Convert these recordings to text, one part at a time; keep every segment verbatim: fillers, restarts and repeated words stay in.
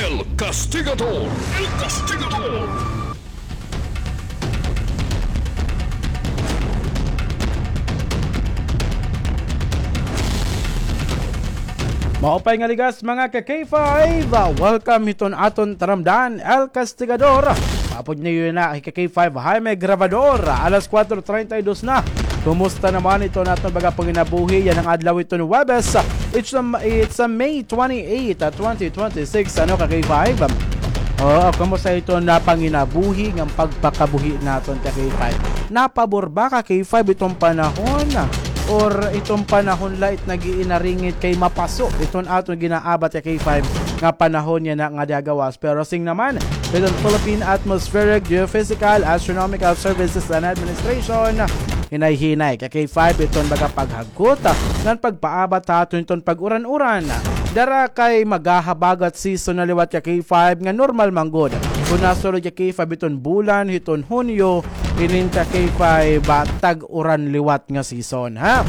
El Castigador. El Castigador. Maupay nga ligas, mga ka-K five. Welcome hiton aton taramdan, El Castigador. Paapod niyo na hi ka-K five Jaime Grabador. Alas kuwatro treinta y dos na. Kumusta naman iton aton baga panginabuhi yana nga adlaw iton Huwebes? It's a, it's a May twenty-eight, ah, twenty twenty-six. Ano, ka-K five? Oo, kumusta iton panginabuhi nga pagpakabuhi naton, ka-K five? Napabor ba, ka-K five, iton panahon? Or iton panahon la it nag-iinaringit kay mapaso iton aton ginaabat, ka-K five, nga panahon yana nga dagawas? Pero sing naman, iton Philippine Atmospheric, Geophysical, Astronomical Services and Administration, hinay-hinay, ka-K five, iton baga paghagkot ngan pagpaabat ha aton iton pag-uran-uran. Dara kay maghahabagat season na liwat, ka-K five, nga normal man gud. Kon nasulod, ka-K five, iton bulan hiton Hunyo, inin, ka-K five, ah, tag-uran liwat nga season, ha?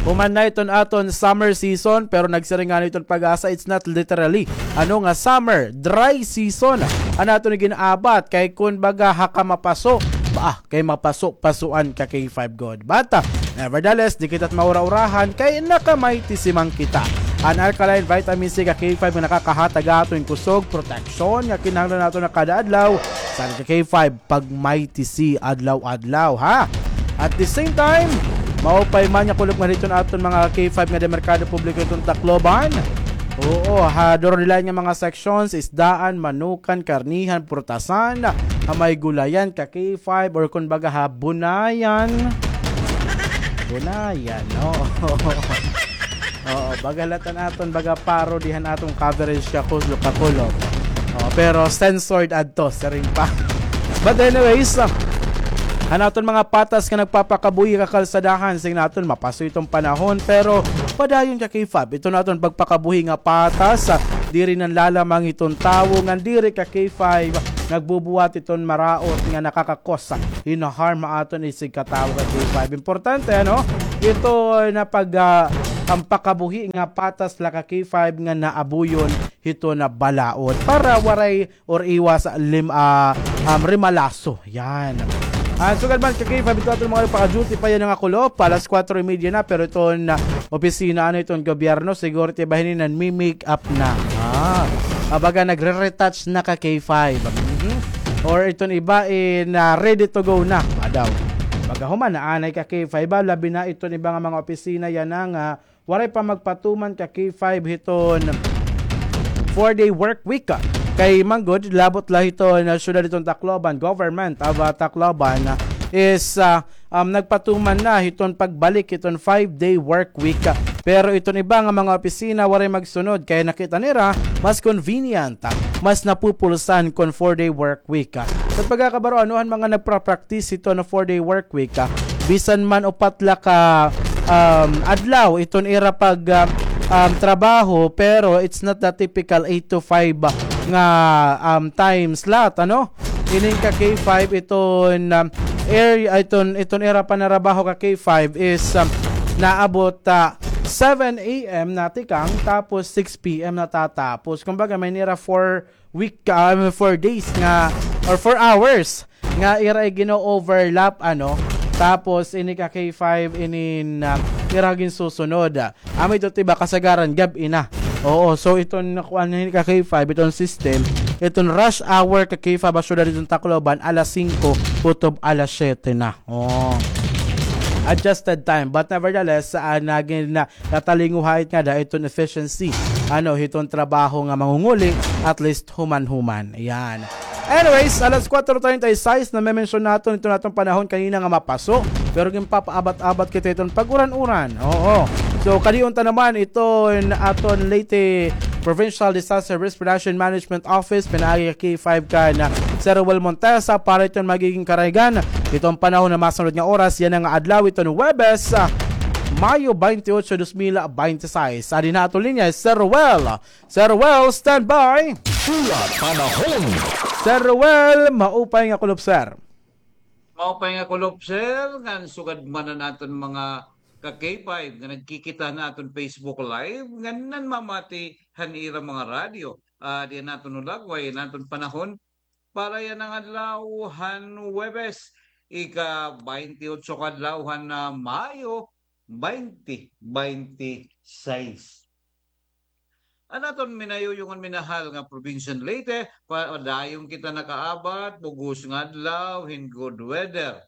Human na iton aton summer season, pero nagsiring ngani iton PAGASA, it's not literally, ano, nga summer, dry season an aton gin-abat, kay kun baga ha kamapaso, ba, kay mapaso-pasuan, ka-K five, gud. But, ah, nevertheless, di kita maura-urahan, kay naka-Mighty C man kita. An alkaline vitamin C, ka-K five, nga nakakahatag aton kusog, proteksyon nga kinahanglan naton ha kada adlaw. Sara, ka-K five, pag-Mighty C adlaw-adlaw, ha? At the same time, maupay man nga kulop nga didto ha aton mga, ka-K five, nga merkado publiko hiton Tacloban. Oo, ha, duron nila nga mga sections, isdaan, manukan, karnihan, prutasan, ha, may gulayan, ka-K five, or kun baga ha, bunayan. Bunayan, no? Oo, baga la it an aton baga paro dihan aton coverage, ka-K five, ka-K five. Oo, pero censored adto, siring pa. But anyways, ah, an aton mga patas nga nagpapakabuhi ha kalsadahan, sing naton mapaso iton panahon, pero padayon, ka-K five, iton aton pagpakabuhi nga patas, ah, diri nanlalamang iton tawo, ngan diri, ka-K five, nagbubuhat iton maraot nga nakakakos, ah, hin harm ha aton isigkatawo, ka-K five. Importante, ano? Ito na pag, ah, an pakabuhi nga patas la, ka-K five, nga naabuyon hiton balaod para waray or iwas lim-, ah, um, rimalaso. Yan. An sugad man, ka-K five, ito aton mga paka-duty pa yana nga kulop, alas kuwatro y media na, pero iton, ah, opisina, ano, iton gobyerno, siguro it iba hini nanmi-make up na. Ah, baga nagre-retouch na, ka-K five. Mhm. Or iton iba, eh, na ready to go na. Adaw. Baga human na anay, ka-K five, ah, labi na iton iba nga mga opisina yana nga waray pa magpatuman, ka-K five, hiton four-day work week, ah. Kay man gud, labot la hiton, ah, syudad hiton Tacloban, government of, ah, Tacloban, ah, is, ah, um, nagpatuman na hiton pagbalik hiton five-day work week, ah. Pero iton iba nga mga opisina waray magsunod, kay nakita nira mas convenient, ah, mas napupulsan kon four-day work week, ah. Sa pagkakabaro, ano, an mga nagpra-practice hiton four-day work week, ah, bisan man upat la ka, um, adlaw iton ira pag, ah, um, trabaho, pero it's not the typical eight to five, ah, nga, um, time slot, ano? Inin, ka-K five, iton, um, area, iton, iton ira panarabaho, ka-K five, is, um, naabot, ah, seven a.m. natikang, tapos six p.m. natatapos. Kumbaga, may nira four week, ah, I mean, four days nga, or four hours nga ira gino-overlap, ano, tapos ini, ka-K five, inin, ah, ira ginsusunod. Amo ito, tiba, kasagaran gab-i na. Oo, so iton nakuan ini, ka-K five, iton system, iton rush hour, ka-K five, ha syudad hiton Tacloban, alas singko kutob alas siyete na. Oo. Adjusted time. But nevertheless, ah, nagin-, na, natalinguhait ngada iton efficiency, ano, hiton trabaho nga mangunguli, at least human-human. Ayan. Anyways, alas kuwatro treinta y seis, name-mention naton iton aton panahon kanina nga mapaso, pero ginpapaabat-abat kita iton pag-uran-uran. Oo. So, kadi unta naman iton aton Leyte Provincial Disaster Risk Reduction Management Office, pinaagi, ka-K five, kan Sir Ruel Montesa para iton magiging karaygan hiton panahon ha masunod nga oras, yana nga adlaw, iton Huwebes, ah, Mayo twenty-eight, dos mil twenty-six. Adi na aton linya, Sir Ruel. Sir Ruel, standby. Pula Panahon. Sir Ruel, maupay nga kulop, sir. Maupay nga kulop, sir, ngan sugad man an aton mga ka-K five nga nagkikita han aton Facebook Live, ngan nanmamati han ira mga radyo. ah, di naton hulagway, naton panahon. Para yana nga adlaw han Huwebes, ika-baynte otso ka adlaw han, ah, Mayo, baynte baynte sais. An aton minayuyong ngan minahal nga probinsya han Leyte, padayon kita nakaabat, bug-os nga adlaw, hin good weather.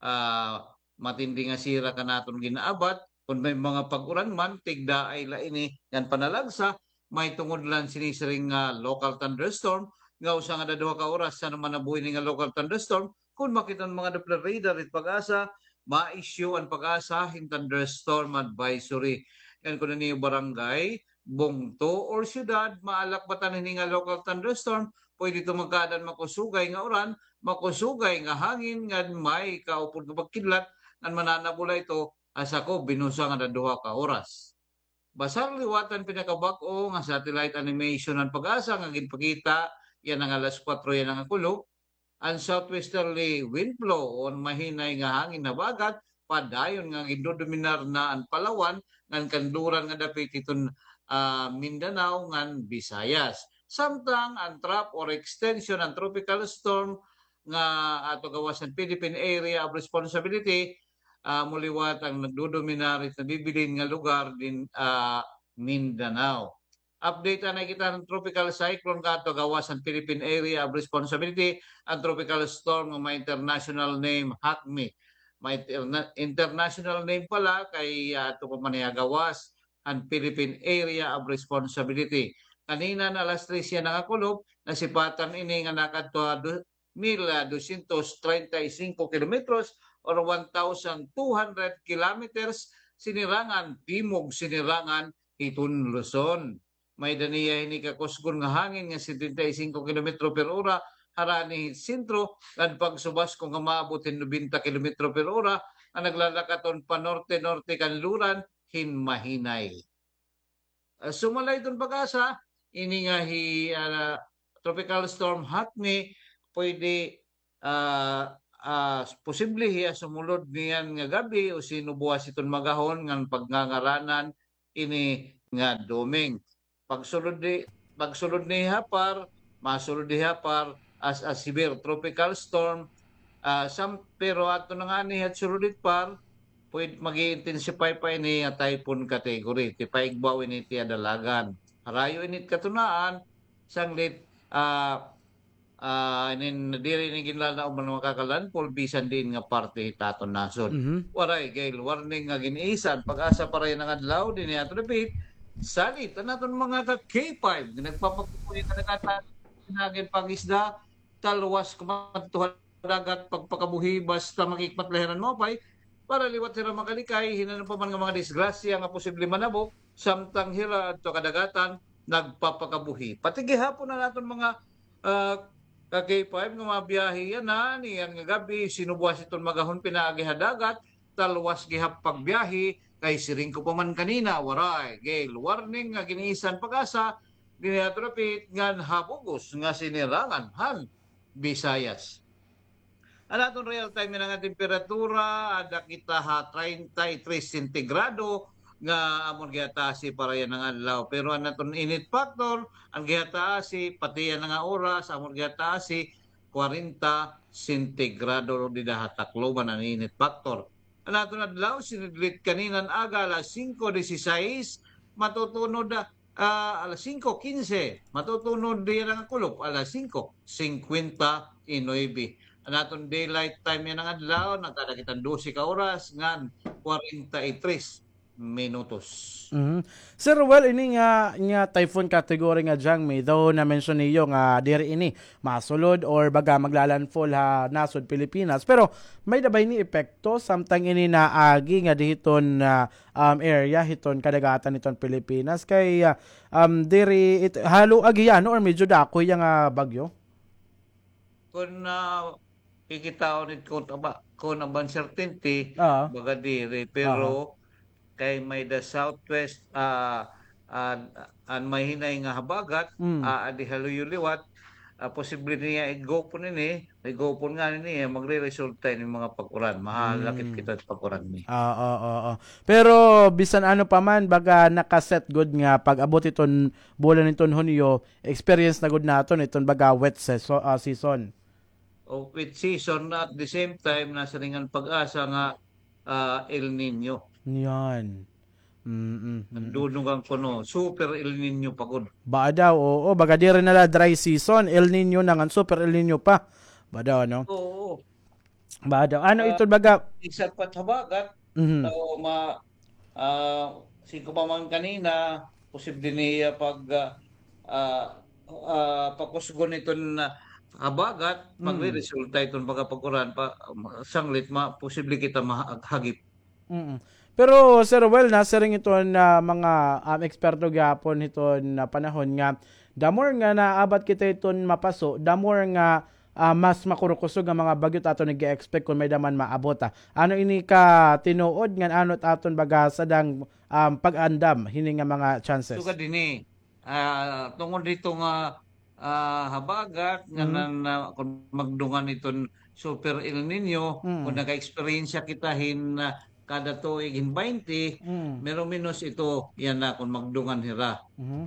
Ah, matindi nga sira kan aton gin-abat, kon may mga pag-uran man, tigdaay la ini ngan panalagsa, mahitungod la sini siring nga local thunderstorm, nga usa ngada duha ka oras, san-o man nabuhi ini nga local thunderstorm, kon makita an mga Doppler radar it PAGASA, ma-issue an PAGASA hin thunderstorm advisory. Ngan kon an iyo barangay, bungto, or syudad, maalakbatan hini nga local thunderstorm, pwede ito magkaada hin makusugay nga uran, makusugay nga hangin, ngan may kaupod nga pagkidlat, ngan mananabo la ito, ah, sakob hin usa ngada duha ka oras. Basar liwat an pinakabag-o nga satellite animation han PAGASA nga ginpakita yana nga alas kuwatro yana nga kulop, an southwesterly wind flow o an mahinay nga hangin habagat, padayon nga gindodominar na an Palawan ngan kanluran nga dapit hiton, ah, Mindanao ngan Visayas. Samtang an trough or extension han tropical storm nga ato gawas han Philippine Area of Responsibility, ah, amo liwat an nagdodominar hit nabibilin nga lugar hin, ah, Mindanao. Update anay kita han tropical cyclone nga ato gawas han Philippine Area of Responsibility, an tropical storm nga may international name, Hakmi. May interna-, international name pala kay, ah, ato pa man hiya gawas han Philippine Area of Responsibility. Kanina nga alas tres yana nga kulop, nasipatan ini nga nakadto ha du-, mil dosyentos treinta y cinco kilometros or one thousand two hundred kilometers, sinirangan, timog sinirangan hiton Luzon. May-ada niya hini kakusgon nga hangin nga setenta y cinco kilometro per ora, harani hit sentro, ngan pagsubasko nga maabot hin nobenta kilometro per ora, nga naglalakaton pa norte-norte kanluran hin mahinay. Ah, sumala hiton PAGASA, ini nga hi, ah, Tropical Storm Hakmi, pwede, ah, ah, posible hiya sumulod niyan nga gab-i o sinubuas hiton magahon ngan pagngangaranan ini nga Doming. Pagsulod ni, pagsulod ni ha par, masulod ni ha par as a severe tropical storm, ah, sam-, pero adto na ngani ha sulod hit par, pwede mag-i-intensify pa ini nga typhoon category, ti paigbaw ini ti adalagan. Harayo ini it katunaan, sanglit, ah, ah, inin, diri ini ginlalaom nga makakalandfall bisan diin nga parte hit aton nasod. Mhm. Waray gale warning nga gin-isa an PAGASA para yana nga adlaw, dinhi aton dapit. Salit an aton mga ka-K five nga nagpapakabuhi nga nagkata-, nagin pangisda, talwas kumadto ha dagat pagpakabuhi basta makikmat la hira hin maupay, para liwat hira makalikay hin ano pa man nga mga disgrasya nga posible manabo, samtang hira adto kadagatan nagpapakabuhi. Pati gihapon an aton mga, ah, ka-K five nga mga biyahe yana, niyan nga gab-i, sinubuas hiton magahon pinaagi ha dagat, talwas gihap pagbiyahe, kay siring ko pa man kanina, waray gale warning nga gin-isa an PAGASA, dinhi aton dapit ngan ha bug-os nga sinirangan han Visayas. An aton real time yana nga temperatura, ada kita ha treinta y tres sentigrado, nga amo gihataasi para yana nga adlaw. Pero an aton init factor, an gihataasi, pati yana nga oras, amo gihataasi, kwarenta sentigrado dida ha Tacloban an init factor. An aton adlaw, sinidlit kanina nga aga, alas singko disisais, matutunod, ah, alas singko kinse, matutunod yana nga kulop, alas singko singkwenta y nuebe. An aton daylight time yana nga adlaw, nagkada kita hin dose ka oras ngan kwarenta y tres minutos. Mhm. Sir, well, ini nga, nga typhoon category nga Jangmi, though na-mention niyo nga diri ini masulod or baga maglalandfall ha nasod Pilipinas. Pero may-ada ba ini epekto samtang ini naagi ngadi hiton, ah, um, area hiton kadagatan hiton Pilipinas? Kay, ah, um, diri it-, ha luag hiya, no, or medyo dako hiya nga bagyo? Kon, ah, kikitaon it kon aba, kon aba uncertainty, ah, baga diri, pero, aha, kay may-ada southwest, ah, ah, an mahinay nga habagat, mm, ah, adi ha luyo liwat, ah, posible niya igupon ini, igupon ngani niya, magreresulta ini mga pag-uran. Mahalakit kita pag-uran ni. Oo, oo. Pero bisan ano pa man, baga nakaset gud nga pag-abot iton bulan iton Hunyo, experience na gud naton iton baga wet seso-, ah, season. O wet season, at the same time, nasiring an PAGASA nga, ah, El Niño. Yan. Mm-mm. Nagdudugang kuno, super El Niño pa gud. Ba daw, oo, baga diri na la dry season, El Niño na ngan, super El Niño pa. Ba daw, ano? Oo. Ba daw, ano ito baga? Bisan pa habagat, so, ma-, ah, siring ko pa man kanina, posible niya pag, ah, ah, ah, pakusgon iton, ah, habagat, magreresulta iton baga pag-uran pa, sanglit ma-, posible kita mahagip. Mm. Pero, Sir Well, nasiring iton, ah, mga, um, eksperto gihapon hiton, ah, panahon nga, the more nga naabat kita hiton mapaso, the more nga, ah, mas makurukusog nga mga bagyo it aton nag-expect kon may-ada man maabot, ah. Ano ini ka tinuod ngan ano it aton baga sadang, um, pag-andam hini nga mga chances? Sugad hini, ah, tungod dito nga ah, habagat nga nan-, na, kon magdungan iton Super El Niño, kon naka-eksperyensya kita hin, ah, kada tuig hin baynte, meron menos ito, yana kon magdungan hira.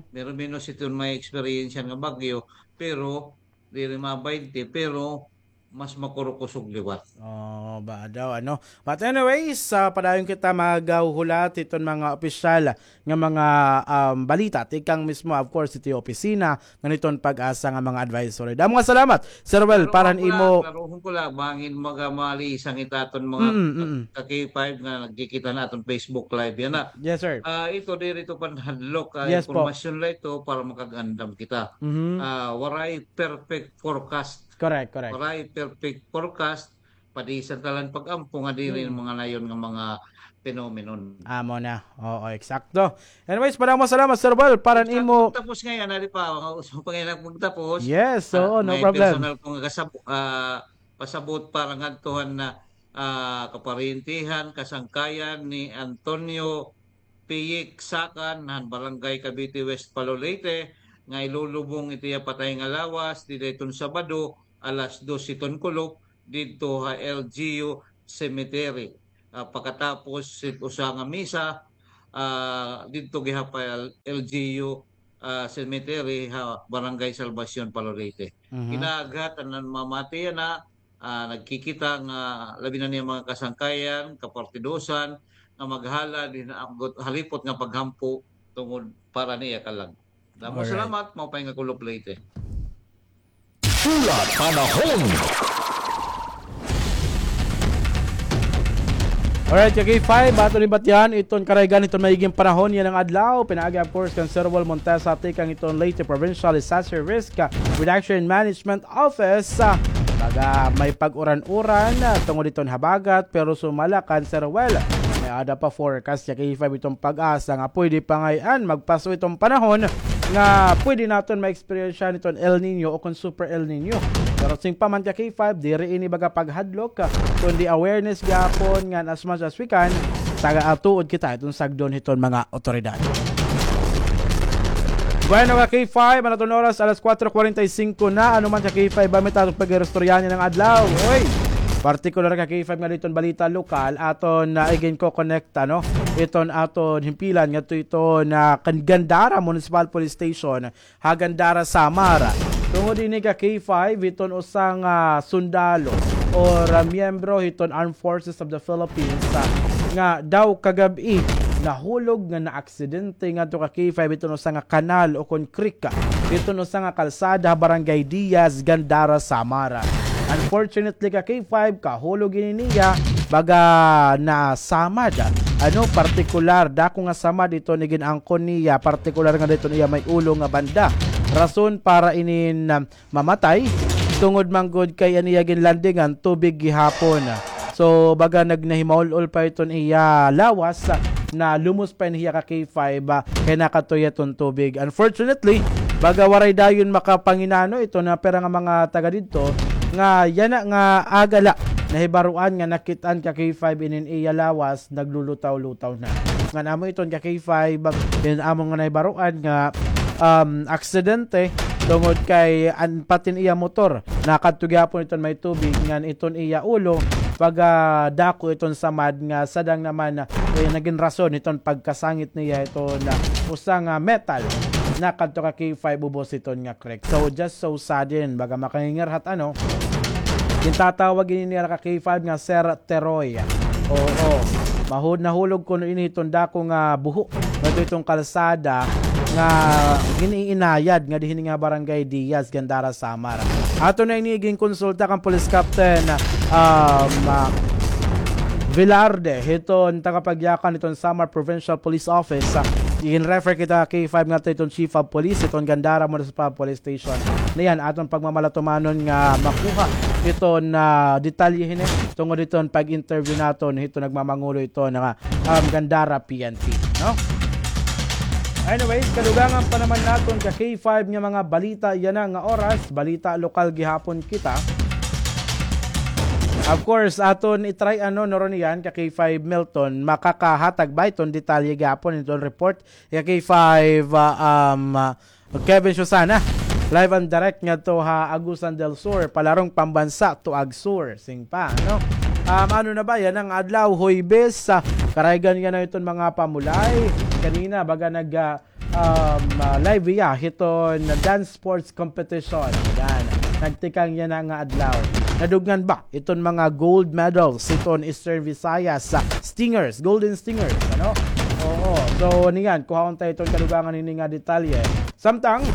Meron menos iton may eksperyensya nga bagyo, pero diri ma baynte, pero mas makurukusog liwat. Oh, ba daw, ano? But anyways, ah, padayon kita maghuhulat hiton mga opisyal nga mga, um, balita tikang mismo, of course, hito opisina ngan hiton PAGASA nga mga advisory. Damo nga salamat, Sir Well, para han imo. Pero hon ko la, bangin maga malisang it aton mga ka-K five nga nagkikita han aton Facebook Live yana. Yes, sir. Ah, ito diri ito panhadlok, ah, impormasyon la ito para makag-andam kita. Ah, waray perfect forecast. Correct, correct. Waray perfect forecast, padisan ta la hin pag-ampo nga diri mga nayon nga mga phenomenon. Amo na. Oo, eksakto. Anyways, padamo nga salamat, Sir Well, para han imo. Magtapos ngay-an, di pa, mga uso pa ngay-an magtapos. Yes, oo, no problem. May personal ko nga kasab-, ah, pasabot para ngadto han, ah, kaparyentehan, kasangkayan ni Antonio Piyik Sakan han Barangay Cavite West, Palo, Leyte, nga ilulubong it iya patay nga lawas dida hiton Sabado, alas dos hiton kulop, didto ha L G U Cemetery. Ah, pakatapos hit usa nga misa, ah, didto gihap ha L G U, ah, Cemetery ha Barangay Salvacion, Palo, Leyte. Kinaaghat an namamati yana, ah, nagkikita nga labi na niya mga kasangkayan, kapartidosan, nga maghalad hin, ah, halipot nga paghampo tungod para niya kalag. Damo nga salamat, maupay nga kulop, Leyte. Hulat panahon. Alright, ka-K five, aton ibatian iton karaygan hiton maiging panahon yana nga adlaw. Pinaagi, of course, kan Sir Wal Montesa tikang hiton Leyte Provincial Disaster Risk Reduction Management Office. Ah, baga may pag-uran-uran, ah, tungod hiton habagat, pero sumala kan Sir Wal, may-ada pa forecast ka-K five hiton PAGASA nga pwede pa ngay-an magpaso hiton panahon nga pwede naton ma-experience hiton El Niño o kon Super El Niño. Pero siring pa man ka-K five, diri ini baga paghadlok, kundi awareness gihapon ngan as much as we can, taga-atuod kita hiton sagdon hiton mga otoridad. Bueno, ka-K five, an aton oras, alas kuwatro kuwarenta y singko na. Ano man, ka-K five, ba may aton pag-iristoryahan yana nga adlaw? Oy! Partikular, ka-K five, nga didto han balita lokal, aton, ah, iginkokonekta, no? Iton aton himpilan ngadto hiton, ah, kan Gandara Municipal Police Station, ha Gandara, Samar. Tungod ini, ka-K five, hiton usa nga sundalo or, ah, miyembro hiton Armed Forces of the Philippines, ah, nga daw kagab-i nahulog nga naaksidente ngadto, ka-K five, hiton usa nga kanal o kon creek, hiton usa nga kalsada ha Barangay Diaz, Gandara, Samar. Unfortunately, ka-K five, kahulog ini niya, baga nasamad. Ano, partikular, dako nga samad iton igin-angkon niya, partikular nga didto han iya may ulo nga banda. Rason para inin, um, mamatay, tungod man gud kay an iya ginlandingan tubig gihapon. So, baga nagnahimaul-ol pa iton iya lawas, nalumos pa ini hiya, ka-K five, ah, kay nakatuya iton tubig. Unfortunately, baga waray dayon makapanginano iton pira nga mga taga didto nga yana nga aga la nahibaroan nga nakit-an, ka-K five, inin iya lawas naglulutaw-lutaw na. Ngan amo iton, ka-K five, inin amo nga nahibaroan nga, um, aksidente tungod kay an patin iya motor nakadto gihapon iton may tubig ngan iton iya ulo, baga dako iton samad nga sadang naman, eh, nagin rason iton pagkasangit niya iton, ah, usa nga metal nakadto ka K five ubos iton nga creek. So, just so sudden, baga makangingirhat, ano, gintatawag ini nira ka K five nga Sir Teroy. Oo. Mahud nahulog kuno ini hiton dako nga buho ngadto hiton kalsada nga gin-iinayad nga dinhi nga Barangay Diaz, Gandara, Samar. Aton na ini ginkonsulta kan Police Captain, um, ah, Velarde, hiton tagapagyakan hiton Samar Provincial Police Office. Ah, gin-refer kita K five ngadto hiton Chief of Police hiton Gandara Municipal Police Station. Niyan aton pagmamalatumanon nga makuha hiton, ah, detalye hini tungod hiton pag-interview naton hiton nagmamangulo hiton nga, um, Gandara P N P, no? Anyways, kadugangan pa naman naton ka K five nga mga balita yana nga oras, balita lokal gihapon kita. Of course, aton i-try, ano, no, Ronian, ka K five Milton, makakahatag ba iton detalye gihapon iton report? Ka K five, ah, um, ah, Kevin Susana, live and direct ngadto ha Agusan del Sur, palarong pambansa to AgSur, sing pa, no? Um, ano na ba yana nga adlaw, Huwebes, ah, karaygan yana iton mga pamulay. Kanina, baga nag, ah, um, ah, live iya hiton dance sports competition. Yan. Nagtikang yana nga adlaw. Nadugngan ba iton mga gold medals hiton Eastern Visayas, ah, Stingers, Golden Stingers, ano? Oo. So, niyan, kuhaon ta iton kadugangan hini nga detalye. Samtang,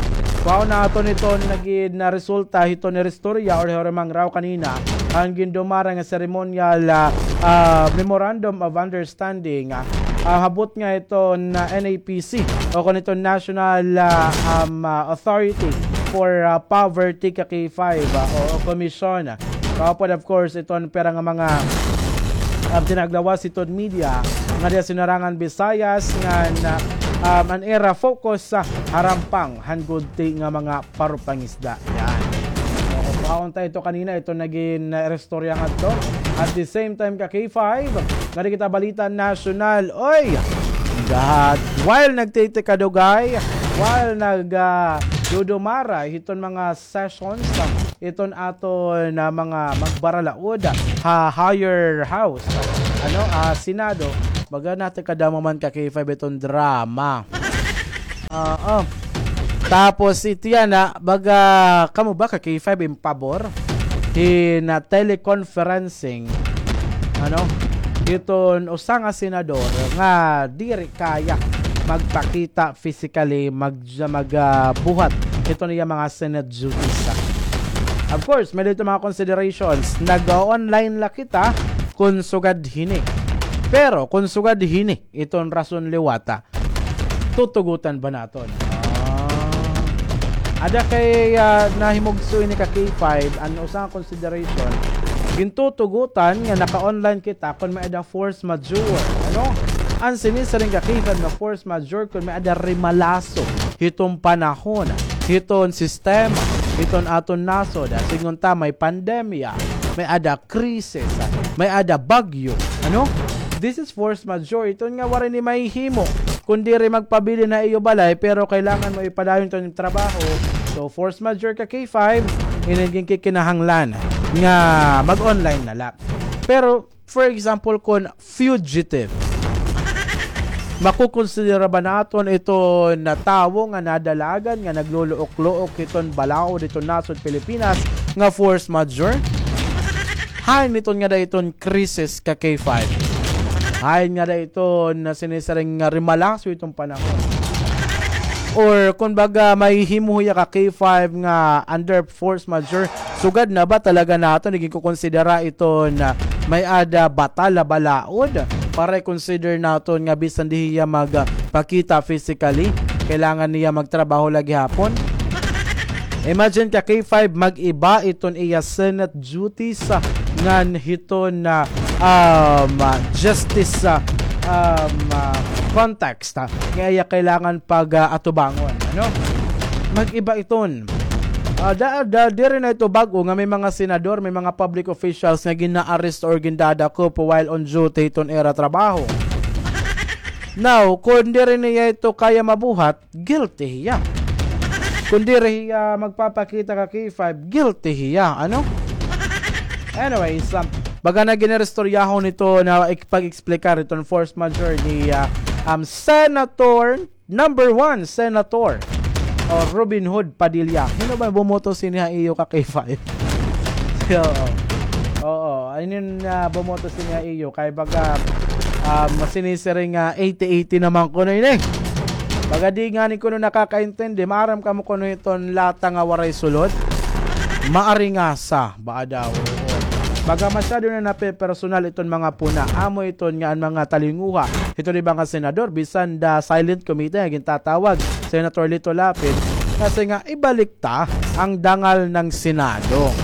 kuhaon naton iton nagin na resulta hiton iristorya or hirimang raw kanina, an gindumara nga ceremonial, ah, ah, Memorandum of Understanding, ah, ah, habot nga iton, ah, N A P C o kon iton National, ah, um, ah, Authority for, ah, Poverty ka K five, ah, o, o Commission. Kaupod, of course, iton pira nga mga, ah, tinaglawas hiton media nga diya sinarangan Visayas ngan, ah, um, an ira focus sa harampang han gudti nga mga parupangisda. Yan. So, kuhaon ta ito kanina, ito nagin, ah, istorya ngadto. At the same time, ka K five, ngadi kita balita nasyonal. Oy! God! While nagtitikadugay, while nag, ah, dudumara hiton mga sessions, ah, iton aton, ah, mga magbaralaod, ah, ha higher house, ano, ah, Senado, baga natikadamo man ka K five iton drama. Oo. Tapos, ito yana, baga, kamo ba ka K five in pabor hin teleconferencing, ano, hiton usa nga senador nga diri kaya magpakita physically, mag-, mag, ah, buhat hiton iya mga Senate duties, ah. Of course, may dito mga considerations. Nag-online la kita kun sugad hini. Pero kun sugad hini, iton rason liwata, tutugutan ba naton? Ah. Ada kay, ah, nahimugso ini ka K five, an usa nga consideration, gintutugutan nga naka-online kita kon may-ada force majeure, ano? An sinisiring ka K five nga force majeure kon may-ada rimalaso hiton panahon, hiton sistema, hiton aton nasod. Sidngon ta may pandemya, may-ada krisis, may-ada bagyo, ano? This is force majeure. Iton nga waray ni mahihimo kun diri magpabilin ha iyo balay, pero kailangan mo ipadayon iton trabaho. So, force majeure ka K five, ini an ginkikinahanglan nga mag-online na la. Pero, for example, kun fugitive, makukonsidera ba naton iton tawo nga nadalagan, nga nagluluok-luok hiton balaod hiton nasod Pilipinas nga force majeure? Hain iton ngada iton krisis ka K five? Hain ngada iton sinisiring nga rimalaso hiton panahon? Or, kun baga, mahihimo hiya ka K five nga under force majeure, sugad na ba talaga naton iginkukonsidera iton may-ada batal ha balaod para i-consider naton nga bisan di hiya magpakita physically, kailangan niya magtrabaho la gihapon? Imagine ka K five, mag-iba iton iya Senate duties, ah, ngan hiton, ah, um, ah, justice, ah, um, ah, context, ah, nga iya kailangan pag, ah, atubangon, ano? Mag-iba iton. Ah, da-, da-, diri na ito bag-o nga may mga senador, may mga public officials nga gina-arrest or gindadakop while on duty iton ira trabaho. Now, kun diri niya ito kaya mabuhat, guilty hiya. Kun diri hiya magpapakita ka K five, guilty hiya, ano? Anyways, um, baga na gin-istoryahon ito na ik-, pag-explicar iton force majeure ni, ah, um, Senator number one, Senator, o, Robin Hood Padilla. Hin-o ba bumoto sini ha iyo ka K five? Oo. Oo, ayun, ah, bumoto sini ha iyo. Kay baga, ah, sinisiring nga eighty eighty naman kuno ini. Baga di ngani kuno nakakaintindi. Maaram kamo kuno iton lata nga waray sulod? Maaringasa, baa daw. Oo. Baga masyado na napepersonal iton mga puna. Amo iton nga an mga talinguha hiton iba nga senador, bisan the silent committee nga gintatawag Senator Lito Lapid, kasi nga ibalik ta ang dangal ng Senado.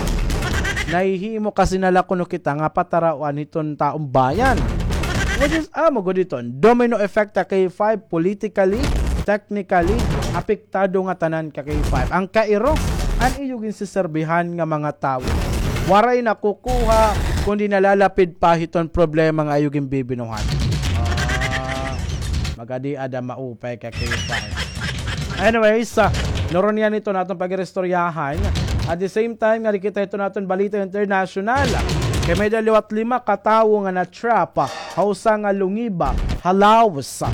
Nahihimo kasi na la kuno kita nga patarawan hiton taong bayan. Which is, amo gud iton domino effect ta K five, politically, technically, apektado nga tanan ka K five. Ang kairo, an iyo ginsiserbihan nga mga tawo. Waray nakukuha, kundi nalalapid pa hiton problema nga iyo ginbibinuhat. Ah, magadi ada maupay ka K five. Anyways, ah, nuron niyan iton aton pag-iristoryahan. At the same time, nga di kita iton aton balita international. Kay may-ada liwat lima ka tawo nga na-trap, ah, ha usa nga lungiba ha Laos.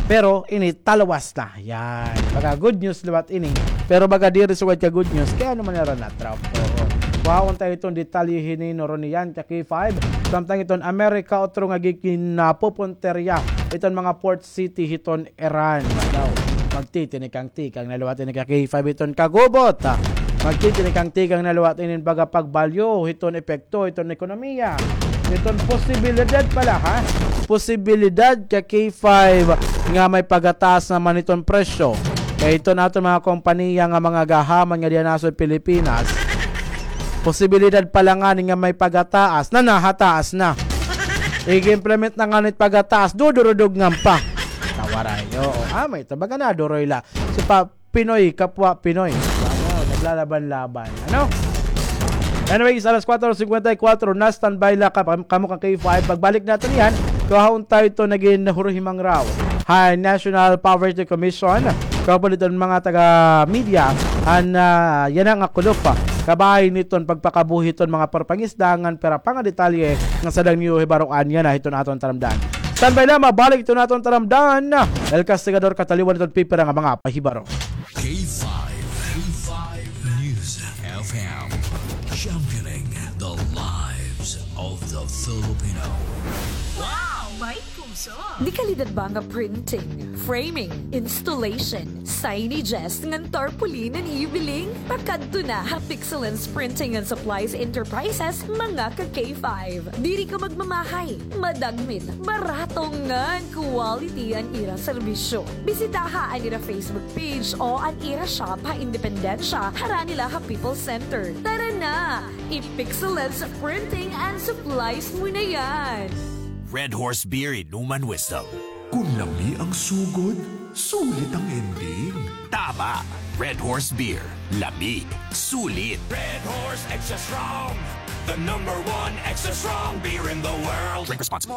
Pero ini talawas na. Yan. Baga good news liwat ini. Pero baga diri sugad ka good news. Kay ano man nira na-trap. Oo. Kuhaon ta iton detalye hini nuron niyan ka K five. Samtang iton Amerika, otro nga giginapupunterya iton mga port city hiton Iran. Daw, magtitinikang-tikang na liwat ini ka K five iton kagubot. Magtitinikang-tikang na liwat inin baga pagbalyo hiton epekto hiton ekonomiya. Iton posibilidad pala, ha? Posibilidad ka K five nga may pagataas naman iton presyo. Kay iton aton mga kompanya nga mga gahaman nga diyan sa Pilipinas, posibilidad pala ngani nga may pagataas na nahataas na. Ig-implement na ngani pagataas, dudurudugngan pa. Tawaray, oo. Ah, may tabaga na, duroy la. So, pa, Pinoy, kapwa Pinoy. Ano, naglalaban-laban. Ano? Anyways, alas kwatro singkwenta y kwatro na, standby la ka, kamo ka K five. Pagbalik naton iyan, kuhaon ta iton nagin huruhimang raw ha National Poverty Commission. Kaupod iton mga taga-media, an, ah, yana nga kulop, ah, kabahin hiton pagpakabuhi hiton mga parpangisda ngan pira pa nga detalye nga sadang niyo hibaroan yana hiton aton taramdan. Standby la, mabalik iton aton taramdan. El Castigador, kataliwan iton pipira nga mga pahibaro. K five, K five News F M, championing the lives of the Filipino. Wow! May puso! Dekalidad ba nga printing, framing, installation, signages, ngan tarpaulin an iyo biling? Pakadto na ha Pixelance Printing and Supplies Enterprises, mga ka K five. Diri ka magmamahay, madagmit, barato ngan quality an ira serbisyo. Bisitaha an ira Facebook page o an ira shop ha Independencia, harani la ha People's Center. Tara na! I-Pixelance Printing and Supplies mo na yan! Red Horse Beer, inuman wisdom. Kun lami ang sugod, sulit ang ending. Tama! Red Horse Beer. Lami. Sulit. Red Horse Extra Strong. The number one extra strong beer in the world. Drink responsibly.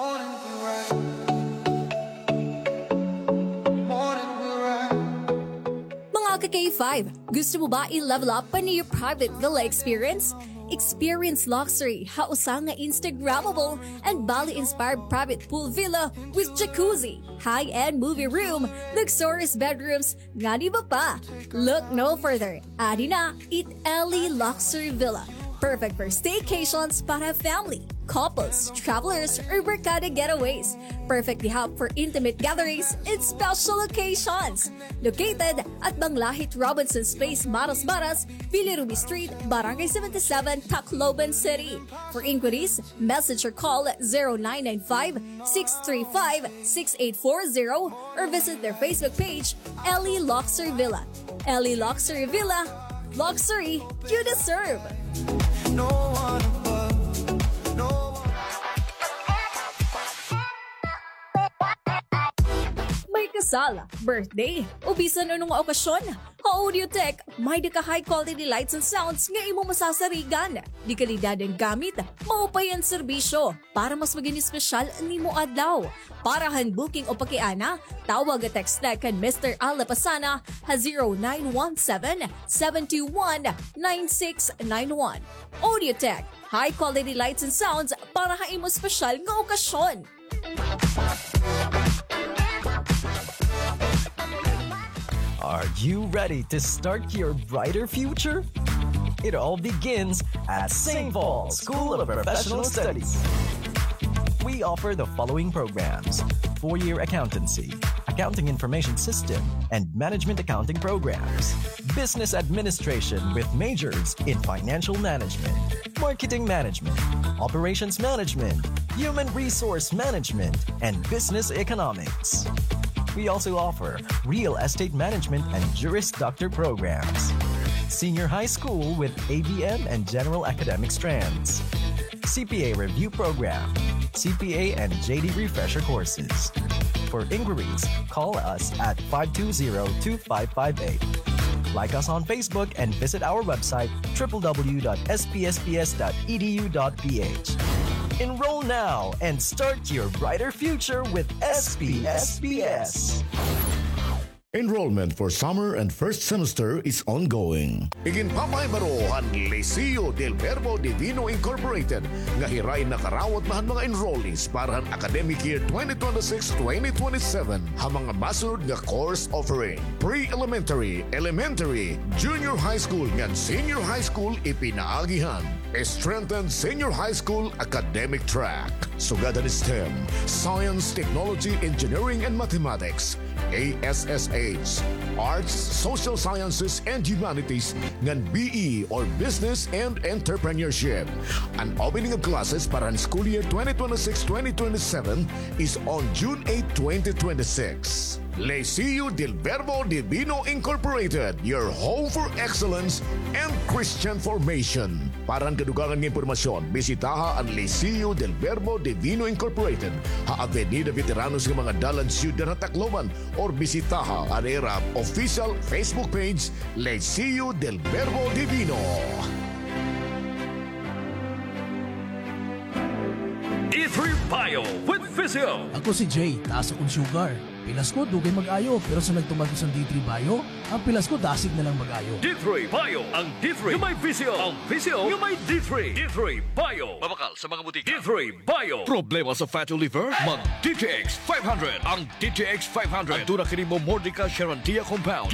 Mga ka K five, gusto mo ba i-level up an iyo private villa experience? Experience luxury ha usa nga Instagrammable and Bali-inspired private pool villa with jacuzzi, high-end movie room, luxurious bedrooms, ngan iba pa. Look no further. Adi na it Ellie Luxury Villa. Perfect for staycations para family, couples, travelers, or barkada getaways. Perfect gihap for intimate gatherings and special occasions. Located at Banglahit Robinson's Place, Marasmaras, Billy Ruby Street, Barangay seventy-seven, Tacloban City. For inquiries, message or call zero nine nine five, six three five, six eight four zero or visit their Facebook page, Ellie Luxury Villa. Ellie Luxury Villa, luxury you deserve. May kasal, birthday, o bisan ano nga okasyon. Ha Audiotech, may-ada ka high quality lights and sounds nga imo masasarigan. De kalidad an gamit, maupay an serbisyo para mas magin espesyal an imo adlaw. Para han booking o pakiana, tawag o text kan Mister Al Lapasana ha zero nine one seven, seven two one, nine six nine one. Audiotech, high quality lights and sounds para ha imo espesyal nga okasyon. Are you ready to start your brighter future? It all begins at Saint Paul School of Professional Studies. We offer the following programs: four-year accountancy, accounting information system, and management accounting programs, business administration with majors in financial management, marketing management, operations management, human resource management, and business economics. We also offer real estate management and Juris Doctor programs, senior high school with A B M and general academic strands, C P A review program, C P A and J D refresher courses. For inquiries, call us at five two zero, two five five eight. Like us on Facebook and visit our website, triple W dot S P S P S dot E D U dot P H. Enroll now and start your brighter future with S P S P S. Enrollment for summer and first semester is ongoing. Iginpapahibaro han Liceo del Verbo Divino Incorporated nga hiray nakarawat na han mga enrollees para han academic year twenty twenty-six twenty twenty-seven ha mga masunod nga course offering: pre-elementary, elementary, junior high school ngan senior high school, ipinaagi han strengthened senior high school academic track, sugad han STEM, science, technology, engineering, and mathematics, A S S H, arts, social sciences, and humanities, ngan B E or business and entrepreneurship. An opening of classes para han school year twenty twenty-six twenty twenty-seven is on June eight, twenty twenty-six. Liceo del Verbo Divino Incorporated, your home for excellence and Christian formation. Para han kadugangan nga impormasyon, bisitaha an Liceo del Verbo Divino Incorporated ha Avenida Veteranos nga mga dalan, Siyudad ha Tacloban, or bisitaha an ira official Facebook page, Liceo del Verbo Divino. D three Bio with Physio. Ako si Jay, taas akon sugar. Pilas ko, dugay mag-ayo, pero sa nagtuman ko san D three Bio, an pilas ko dasig na lang mag-ayo. D three Bio, ang D three nga may Physio, ang Physio nga may D three. D three Bio. Mabakal sa mga butika. D three Bio. Problema sa fatty liver? Mag D T X five hundred. Ang D T X five hundred. Aduna kini Momordica Charantia compound.